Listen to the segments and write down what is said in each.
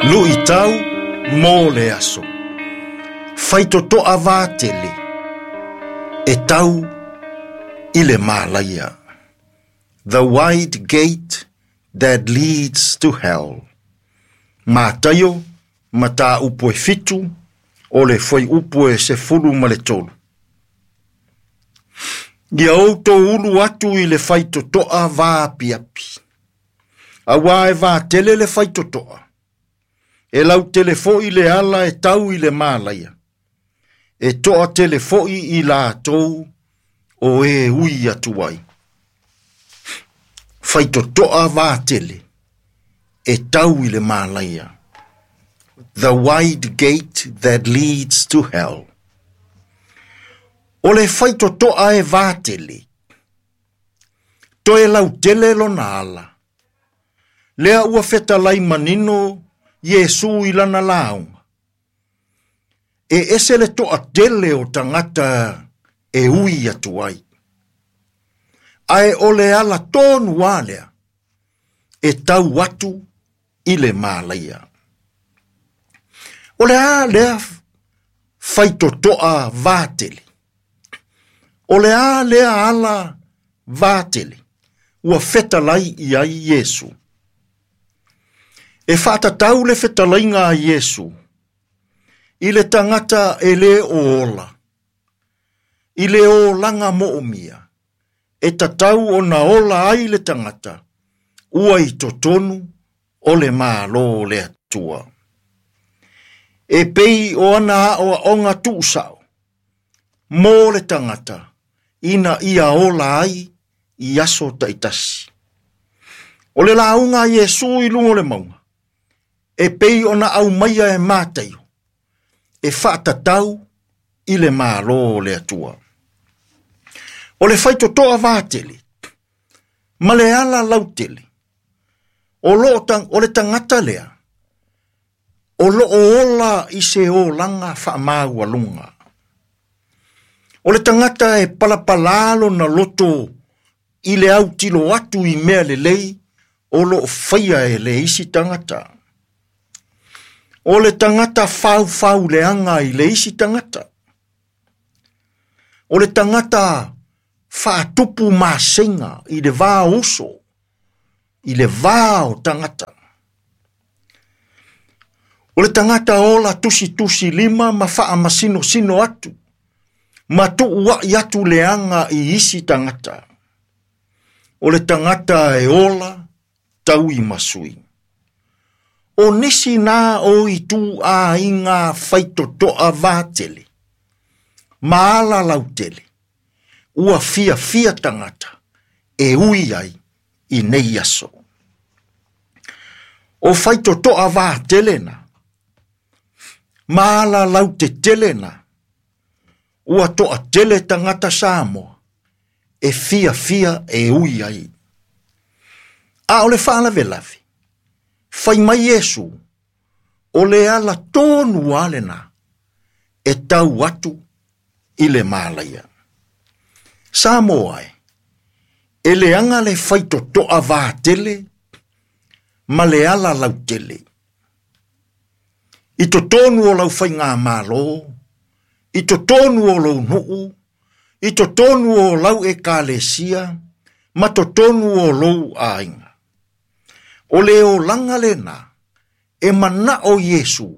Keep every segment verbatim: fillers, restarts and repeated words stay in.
Luʻitau mo le aso. Faitotoa vatele e tau i le malaia. The wide gate that leads to hell. Mataio mataupu e fitu o le fuaiupu e sefulu ma le tolu. Ia outou ulu atu i le faitotoa vaapiapi. Auā e vatele le faitotoa. E lautele foʻi le ala e tau i le malaia. E toatele foʻi i latou o e ui atu ai. Faitotoa vatele e tau i le malaia. The wide gate that leads to hell. O le faitotoa e vatele. Toe lautele lona ala. Lea ua fetalai manino Iesu i lana lauga. E ese le toatele o tagata e ui atu ai. Ae o le ala tonu lava lea e tau atu i le malaia. O le a lea faitotoa vatele. O le a lea ala vatele ua fetalai i ai Iesu. E faatatau le fetalaiga a Iesu i le tagata e lē o ola, i le olaga moomia, e tatau ona ola ai le tagata ua i totonu o le Malo o le Atua. E pei o ana aoaoga tuusao mo le tagata ina ia ola ai i aso taitasi. O le lauga a Iesu i luga o le mauga, e pei ona aumaia e Mataio, e faatatau i le Malo o le Atua. O le faitotoa vatele, ma le ala lautele, o, loo, o le tagata lea, o loo ola i se olaga faamaualuga. O le tagata e palapalā lona loto i le autilo atu i mea lelei o loo faia e le isi tagata. O le tagata faufau leaga i le isi tagata. O le tagata faatupu masega i le va o uso, i le va o tagata. O le tagata ola tusitusi lima ma faamasinosino atu, ma tuuaʻi atu leaga i isi tagata. O le tagata e ola tauimasui. O nisi na o ituaiga faitotoa vatele, ma ala lautele, ua fiafia tagata e ui ai i nei aso. O faitotoa vatele na, ma ala lautetele na, ua toatele tagata Samoa e fiafia e ui ai. A o le faalavelave, fai mai Iesu, o le ala tonu lava lena e tau atu i le malaia. Samoa e, e leaga le faitotoa vatele ma le ala lautele. I totonu o lau faigamalo, i totonu o lou nuu, i totonu o lau ekalesia, ma totonu o lou aiga. O le olaga lena e manao Iesu,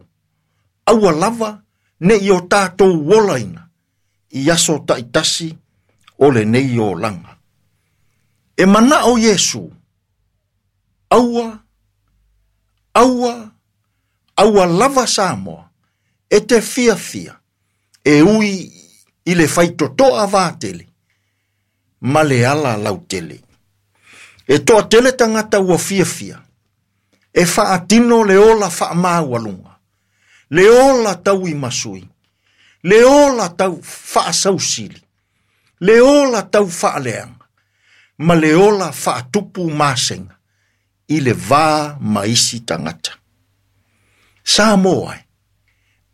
aua lava nei o tatou olaina i aso taitasi o lenei olaga. E manao Iesu, aua, aua, aua lava Samoa, e te fiafia, e ui i le faitotoa vatele, ma le ala lautele. E toatele tagata ua fiafia, e faatino le ola faamaualuga, le ola tauimasui, le ola tau faasausili, le ola tau faaleaga, ma le ola faatupu masega i le va ma isi tagata. Samoa e,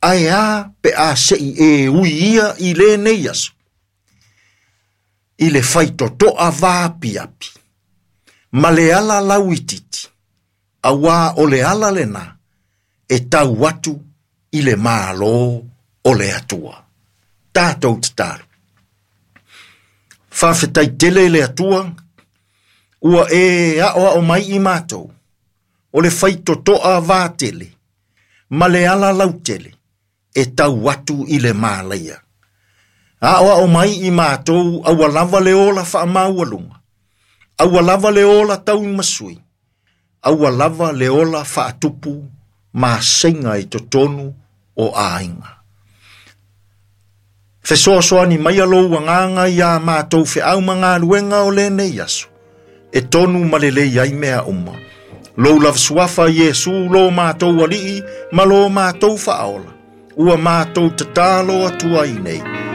ae a pe a sei e ui ia i lenei aso, i le faitotoa vaapiapi, ma le ala lauititi, auā o le ala lena e tau atu i le Malo o le Atua. Tatou tatalo. Faafetai tele i le Atua, ua e aoao mai i matou, o le faitotoa vatele, ma le ala lautele, e tau atu i le malaia. Aoao mai i matou aua lava le ola faamaualuga, aua lava le ola tauimasui, aua lava le ola faatupu maseiga i totonu o aiga. Fesoasoani mai lou agaga ia matou feau ma galuega o lenei aso, e tonu ma lelei ai mea uma. Lou lava suafa Iesu lo matou alii ma lo matou faaola, ua matou tatalo atu ai nei.